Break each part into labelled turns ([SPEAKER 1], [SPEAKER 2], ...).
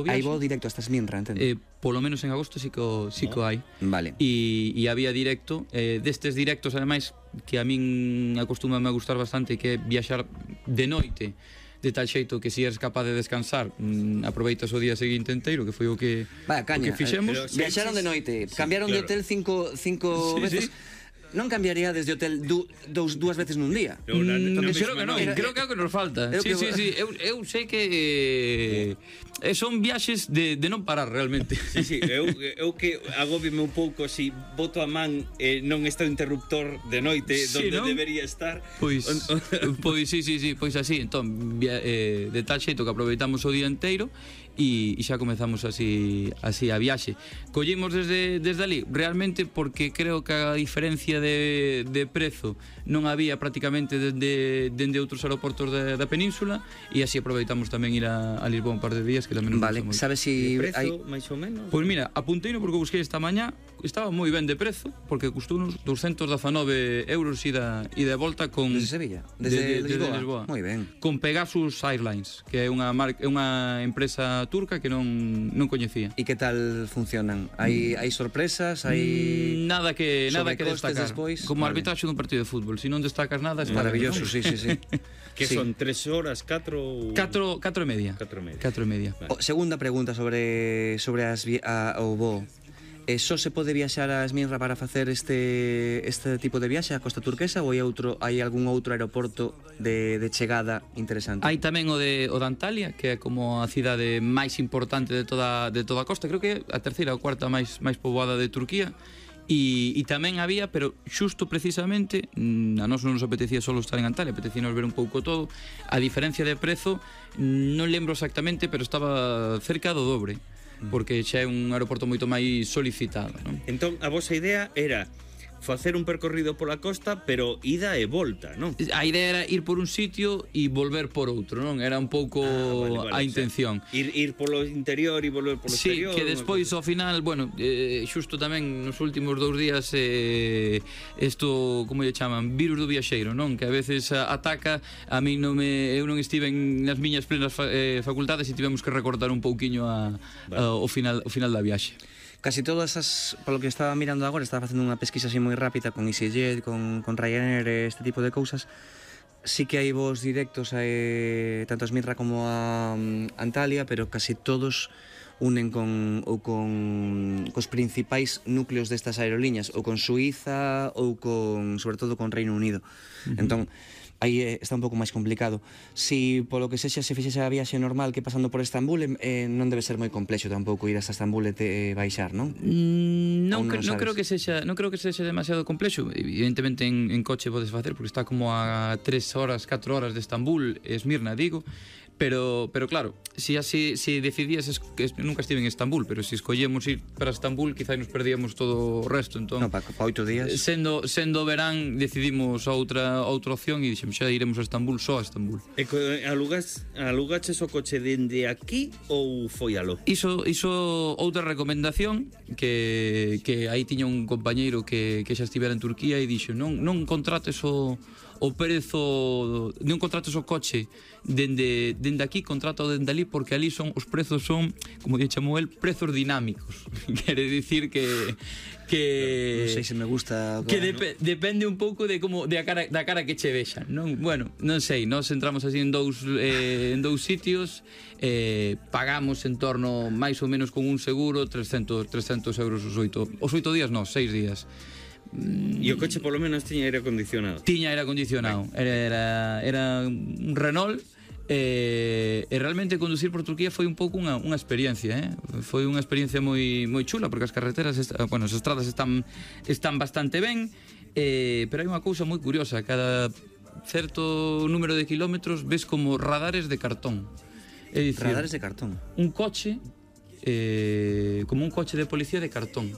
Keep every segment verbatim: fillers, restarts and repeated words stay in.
[SPEAKER 1] Hai voo directo hasta Esmirna, entendo?
[SPEAKER 2] Eh, polo menos en agosto sí que o, sí que o hai.
[SPEAKER 1] Vale.
[SPEAKER 2] E, e había directo, eh, destes directos, ademais, que a min acostuma a gustar bastante, que é viaxar de noite, de tal xeito que se eres capaz de descansar, mmm, aproveitas o día seguinte inteiro, que foi o que,
[SPEAKER 1] Vaya, caña,
[SPEAKER 2] o que fixemos.
[SPEAKER 1] eh, viaxaron de noite, sí, cambiaron claro. de hotel cinco, cinco
[SPEAKER 2] sí,
[SPEAKER 1] veces.
[SPEAKER 2] Sí.
[SPEAKER 1] Non cambiaría desde hotel du, dous, dúas veces nun día?
[SPEAKER 2] No, na, na, mm, creo que non, era, creo que é o que nos falta. Sí, que... sí, sí, eu, eu sei que eh, son viaxes de, de non parar realmente.
[SPEAKER 3] Sí, sí, eu, eu que agóbime un pouco si boto a man e eh, non está o interruptor de noite sí, donde ¿no? debería estar.
[SPEAKER 2] Pois, pois sí, sí, sí, pois así, entón, via, eh, de tal xeito que aproveitamos o día inteiro e, e xa comezamos así así a viaxe. Collimos desde, desde ali, realmente porque creo que a diferencia de, de prezo non había prácticamente dende, dende outros aeroportos da, da península e así aproveitamos tamén ir a, a Lisboa un par de días que tamén nos
[SPEAKER 1] vale, sabes si
[SPEAKER 3] prezo, hai... máis ou menos?
[SPEAKER 2] Pois mira, apunteino porque busquei esta mañá, estaba moi ben de prezo porque custou uns doscientos dezanove euros ida e de volta con
[SPEAKER 1] desde Sevilla, desde,
[SPEAKER 2] de, de,
[SPEAKER 1] Lisboa.
[SPEAKER 2] Desde Lisboa.
[SPEAKER 1] Moi ben.
[SPEAKER 2] Con Pegasus Airlines, que é unha marca, é unha empresa turca que non non coñecía.
[SPEAKER 1] E que tal funcionan? Hai hai sorpresas, hai
[SPEAKER 2] nada que nada que destacar.
[SPEAKER 1] Despois?
[SPEAKER 2] Como vale. Arbitraxe dun partido de fútbol, se si non destacas nada, está
[SPEAKER 1] maravilloso,
[SPEAKER 2] bien,
[SPEAKER 1] sí, sí, sí.
[SPEAKER 3] Que
[SPEAKER 1] sí.
[SPEAKER 3] son tres horas, catro...
[SPEAKER 2] Catro, catro e media.
[SPEAKER 3] Catro e media.
[SPEAKER 2] Catro e media.
[SPEAKER 1] Vale. O, segunda pregunta sobre sobre as a, o voo. Eh, só se pode viaxar a Esmirna para facer este este tipo de viaxe a Costa Turquesa ou hai outro hai algún outro aeroporto de, de chegada interesante?
[SPEAKER 2] Hai tamén o de o de Antalya, que é como a cidade máis importante de toda de toda a costa, creo que é a terceira ou cuarta máis máis poboada de Turquía. E, e tamén había, pero xusto precisamente a nós non nos apetecía só estar en Antalya, apetecíanos ver un pouco todo. A diferencia de prezo non lembro exactamente, pero estaba cerca do dobre, porque xa é un aeroporto moito máis solicitado, non?
[SPEAKER 3] Entón, a vosa idea era facer un percorrido pola costa, pero ida e volta, non?
[SPEAKER 2] A idea era ir por un sitio e volver por outro, non? Era un pouco ah, vale, vale, a intención.
[SPEAKER 3] O sea, ir, ir polo interior e volver polo
[SPEAKER 2] sí,
[SPEAKER 3] exterior.
[SPEAKER 2] Sí, que despois ao final, bueno, eh, xusto tamén nos últimos dous días eh, isto, como lle chaman, virus do viaxeiro, non? Que a veces ataca, a mí non me, eu non estive nas miñas plenas fa, eh, facultades e tivemos que recortar un pouquiño a, vale. a, o, final, o final da viaxe.
[SPEAKER 1] Casi todas as, polo que estaba mirando agora, estaba facendo unha pesquisa así moi rápida con EasyJet, con, con Ryanair, este tipo de cousas. Sí que hai voos directos a, eh, tanto a Esmirna como a um, Antalya, pero casi todos unen con ou con cos principais núcleos destas aerolíneas, ou con Suiza ou con, sobre todo, con Reino Unido. Uh-huh. Entón, aí está un pouco máis complicado. Si polo que sexa se fixese a viaxe normal que pasando por Estambul, eh, non debe ser moi complexo tampouco ir hasta Estambul e te, eh, baixar, non?
[SPEAKER 2] Mm, non, non, non creo que sexa, non creo que sexa demasiado complexo. Evidentemente en, en coche podes facer porque está como a tres horas, catro horas de Estambul, Esmirna, digo. Pero, pero claro, si así si decidías, es, que nunca estive en Estambul, pero si escollemos ir para Estambul, quizá nos perdíamos todo o resto. Entón,
[SPEAKER 1] no, para pa oito días.
[SPEAKER 2] Sendo, sendo verán, decidimos outra outra opción e dixemos, xa iremos a Estambul, só a Estambul.
[SPEAKER 3] E alugas, alugaches o coche dende aquí ou foi alo?
[SPEAKER 2] Iso, iso outra recomendación que, que aí tiña un compañeiro que, que xa estivera en Turquía e dixo, non, non contrates o o prezo, non contrates o coche dende, dende aquí, contrata o dende ali, porque ali son os prezos son, como lle chamou el, prezos dinámicos. Quere dicir que que
[SPEAKER 1] non sei se me gusta
[SPEAKER 2] que dep ¿no? depende un pouco de como de a cara da cara que che vexan, non? Bueno, non sei, nós entramos así en dous eh, en dous sitios, eh, pagamos en torno máis ou menos con un seguro trescentos euros os oito, os oito días, non, seis días.
[SPEAKER 3] E o coche polo menos tiña aire acondicionado?
[SPEAKER 2] Tiña aire acondicionado, era, era, era un Renault. E, e realmente conducir por Turquía foi un pouco unha, unha experiencia, eh? Foi unha experiencia moi, moi chula, porque as carreteras, bueno, as estradas están, están bastante ben, eh, pero hai unha cousa moi curiosa, cada certo número de kilómetros ves como radares de cartón. É dicir,
[SPEAKER 1] radares de cartón?
[SPEAKER 2] Un coche, eh, como un coche de policía de cartón.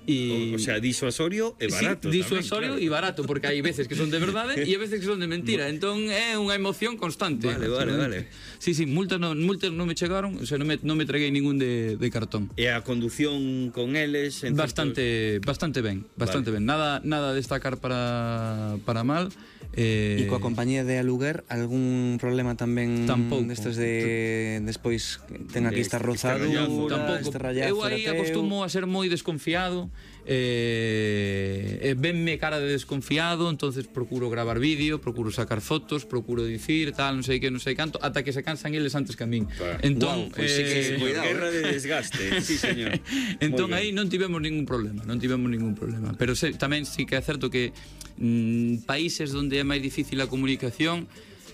[SPEAKER 3] Y... O, o sea, disuasorio e barato.
[SPEAKER 2] Sí, disuasorio e claro. Barato, porque hai veces que son de verdade e hai veces que son de mentira. Entón é unha emoción constante.
[SPEAKER 3] Vale, vale, vale.
[SPEAKER 2] Sí, sí, multas non, multas non me chegaron, o sea, non me, non me traguei ningún de, de cartón.
[SPEAKER 3] E a condución con eles?
[SPEAKER 2] Bastante, certos... bastante ben, bastante vale. ben. Nada, nada a destacar para, para mal. Eh,
[SPEAKER 1] E coa compañía de aluguer, algún problema tamén
[SPEAKER 2] Tampouco.
[SPEAKER 1] destes de despois ten aquí esta rozadura,
[SPEAKER 2] Tampouco.
[SPEAKER 1] este rallazo
[SPEAKER 2] Eu aí
[SPEAKER 1] era teu?
[SPEAKER 2] acostumo a ser moi desconfiado, eh, eh, venme cara de desconfiado, entonces procuro gravar vídeo, procuro sacar fotos, procuro dicir tal, non sei que, non sei canto, ata que se cansan eles antes que a min. Entón,
[SPEAKER 1] Guau, pois sí que-
[SPEAKER 2] eh,
[SPEAKER 1] cuidado,
[SPEAKER 3] Guerra de desgaste, sí, señor.
[SPEAKER 2] entón
[SPEAKER 3] Moi
[SPEAKER 2] aí
[SPEAKER 3] ben.
[SPEAKER 2] non tivemos ningún problema, non tivemos ningún problema. Pero se, tamén sí que é certo que mm, países onde é máis difícil a comunicación,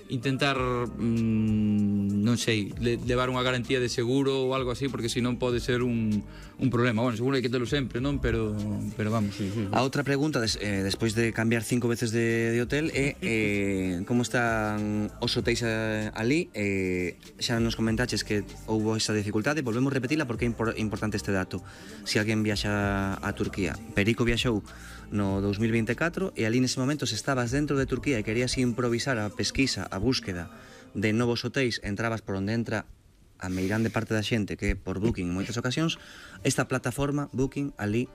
[SPEAKER 2] intentar mm, non sei, le, levar unha garantía de seguro ou algo así, porque senón pode ser un, un problema. Bueno, seguro hai que telo sempre, non? Pero, pero vamos.
[SPEAKER 1] A outra pregunta, des, eh, despois de cambiar cinco veces de, de hotel, é eh, como están os hotéis eh, ali? Eh, xa nos comentaches que houbo esa dificultade, volvemos a repetila porque é impor, importante este dato. Se alguén viaxa a Turquía, Perico viaxou no dous mil vinte e catro e ali nese momento se estabas dentro de Turquía e querías improvisar a pesquisa, a búsqueda de novos hotéis, entrabas por onde entra a meirande parte da xente, que é por Booking en moitas ocasións, esta plataforma Booking ali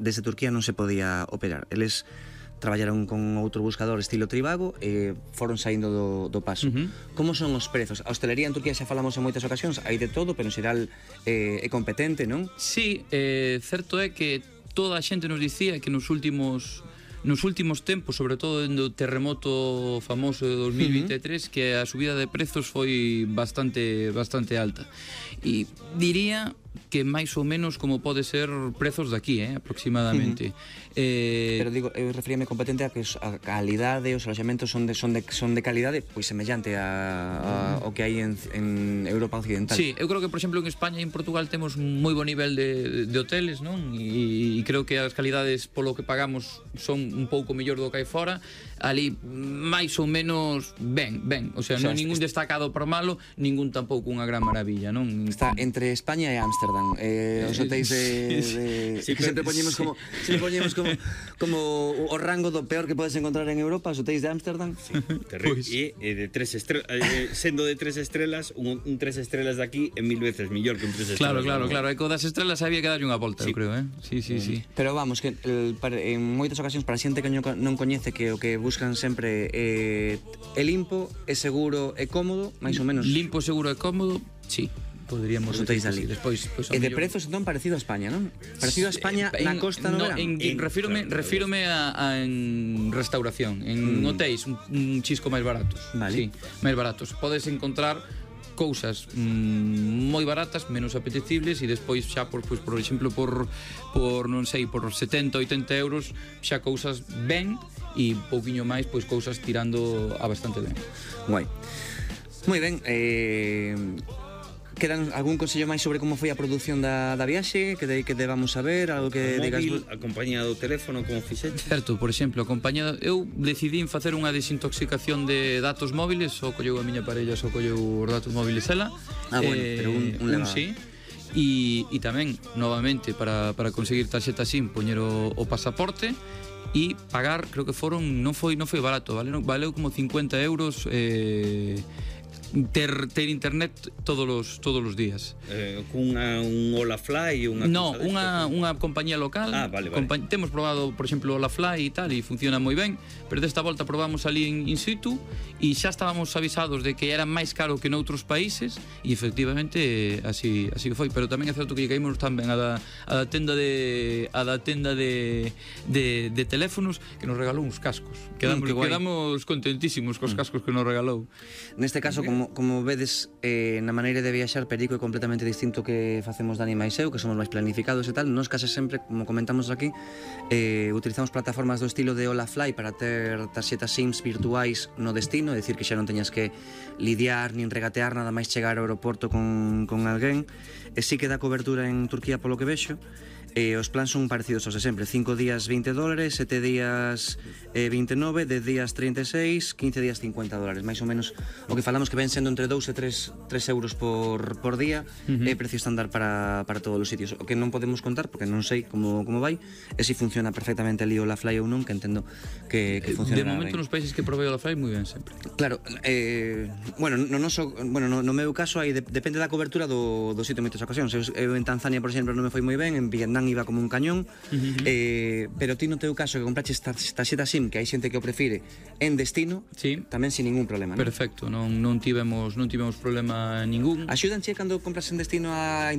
[SPEAKER 1] desde Turquía non se podía operar. Eles traballaron con outro buscador estilo Trivago e foron saindo do, do paso.
[SPEAKER 2] Uh-huh.
[SPEAKER 1] Como son os prezos? A hostelería en Turquía xa falamos en moitas ocasións, hai de todo, pero en xeral eh, é competente, non?
[SPEAKER 2] Sí, eh, certo é que toda a xente nos dicía que nos últimos nos últimos tempos, sobre todo dende o terremoto famoso de dos mil vinte e tres, uh-huh, que a subida de prezos foi bastante bastante alta. E diría que máis ou menos como pode ser prezos daqui, eh, aproximadamente.
[SPEAKER 1] Uh-huh.
[SPEAKER 2] Eh,
[SPEAKER 1] Pero digo, eu referíame competente a que os- a calidade, os aloxamentos son de son de son de calidade, pois semellante a, a o que hai en, en Europa occidental.
[SPEAKER 2] Sí, eu creo que, por exemplo, en España e en Portugal temos moi bo nivel de, de hoteles, non? E, e creo que as calidades polo que pagamos son un pouco mellor do que hai fora. Ali, máis ou menos, ben, ben. O sea,
[SPEAKER 1] O sea,
[SPEAKER 2] non ningún
[SPEAKER 1] est-
[SPEAKER 2] destacado por malo, ningún tampouco unha gran maravilla, non?
[SPEAKER 1] Está entre España e Ámsterdam. Eh, os hotéis de, de
[SPEAKER 3] Sí,
[SPEAKER 1] que sempre
[SPEAKER 3] pero-
[SPEAKER 1] poñemos como sempre poñemos como como o rango do peor que podes encontrar en Europa, os hotéis de Ámsterdam.
[SPEAKER 3] Terrible.
[SPEAKER 2] Pois.
[SPEAKER 3] E eh, de tres estrelas, eh, sendo de tres estrelas, un, un tres estrelas de aquí é mil veces mellor que un tres
[SPEAKER 2] Claro,
[SPEAKER 3] estrelas.
[SPEAKER 2] claro,
[SPEAKER 3] de
[SPEAKER 2] claro. E co das estrelas había que darlle unha volta,
[SPEAKER 3] Sí.
[SPEAKER 2] eu creo, eh? Sí, sí, sí.
[SPEAKER 1] Pero vamos, que el, para, en moitas ocasións para a xente que non non coñece que o que buscan sempre é, é limpo, é seguro, é cómodo, máis ou menos.
[SPEAKER 2] Limpo, seguro e cómodo, sí. Poderíamos
[SPEAKER 1] Os hotéis
[SPEAKER 2] decir que
[SPEAKER 1] dali.
[SPEAKER 2] sí. Despois, pois,
[SPEAKER 1] E de
[SPEAKER 2] ao mellor-
[SPEAKER 1] prezos non parecido a España, non? Parecido a España
[SPEAKER 2] Eh,
[SPEAKER 1] na costa no,
[SPEAKER 2] no,
[SPEAKER 1] verán.
[SPEAKER 2] en,
[SPEAKER 3] En-
[SPEAKER 2] refírome,
[SPEAKER 3] claro,
[SPEAKER 2] refírome a, a en restauración, en
[SPEAKER 1] Mm.
[SPEAKER 2] hotéis un, un chisco máis baratos.
[SPEAKER 1] Vale.
[SPEAKER 2] Sí, máis baratos. Podes encontrar cousas mm, moi baratas, menos apetecibles e despois xa por, pois, por exemplo por por non sei, por setenta, oitenta euros xa cousas ben e pouquiño máis, pois cousas tirando a bastante ben.
[SPEAKER 1] Guai. Moi ben, eh quedan algún consello máis sobre como foi a produción da, da viaxe, que de, que debamos saber, algo que
[SPEAKER 3] O
[SPEAKER 1] digas...
[SPEAKER 3] móvil, a compañía do teléfono, como fixeche?
[SPEAKER 2] Certo, por exemplo, acompañado, eu decidín facer unha desintoxicación de datos móviles, só colleu a miña parella, só colleu os datos móviles ela.
[SPEAKER 1] Ah, bueno, pero un- un leva-
[SPEAKER 2] sí. E, e tamén, novamente, para, para conseguir tarxeta SIM, poñer o, o pasaporte e pagar, creo que foron, non foi non foi barato, vale, valeu como cincuenta euros eh, ter, ter internet todos os todos os días.
[SPEAKER 3] Eh, cunha un Olafly ou unha
[SPEAKER 2] No,
[SPEAKER 3] cousa
[SPEAKER 2] unha,
[SPEAKER 3] destas?
[SPEAKER 2] unha compañía local.
[SPEAKER 3] Ah, vale, vale.
[SPEAKER 2] compa temos probado, por exemplo, la Fly e tal, e funciona moi ben, pero desta volta probamos ali en in situ e xa estábamos avisados de que era máis caro que noutros países e efectivamente así así foi, pero tamén é certo que caímos tamén a da, a da tenda de a da tenda de, de, de teléfonos que nos regalou uns cascos. Quedamos,
[SPEAKER 1] que guai.
[SPEAKER 2] quedamos contentísimos cos cascos que nos regalou.
[SPEAKER 1] Neste caso, como, como vedes, eh, na maneira de viaxar, Perico é completamente distinto que facemos Dani máis eu, que somos máis planificados e tal. Nos case sempre, como comentamos aquí, eh, utilizamos plataformas do estilo de Olafly para ter tarxetas SIMs virtuais no destino, é dicir, que xa non teñas que lidiar nin regatear nada máis chegar ao aeroporto con, con alguén. E sí que dá cobertura en Turquía polo que vexo. E os plans son parecidos aos de sempre, cinco días veinte dólares, sete días eh, vinte e nove, dez días trinta e seis, quince días cincuenta dólares, máis ou menos o que falamos que ven sendo entre dous e tres euros por, por día, uh-huh. é precio estándar para, para todos os sitios. O que non podemos contar, porque non sei como, como vai, é se si funciona perfectamente ali o La Fly ou non, que entendo que, que funciona
[SPEAKER 2] De momento
[SPEAKER 1] ben.
[SPEAKER 2] nos países que provei o la Fly moi ben sempre.
[SPEAKER 1] Claro, eh, bueno, no, noso, bueno, no, no meu caso aí de, depende da cobertura do, do sitio en moitas ocasións. Eu, eu en Tanzania, por exemplo, non me foi moi ben, en Vietnam plan iba como un cañón, eh, pero ti no teu caso que compraches tarxeta SIM, que hai xente que o prefire, en destino,
[SPEAKER 2] Sí.
[SPEAKER 1] tamén sin ningún problema, non?
[SPEAKER 2] Perfecto, non, non tivemos non tivemos problema ningún.
[SPEAKER 1] Axúdanche cando compras en destino a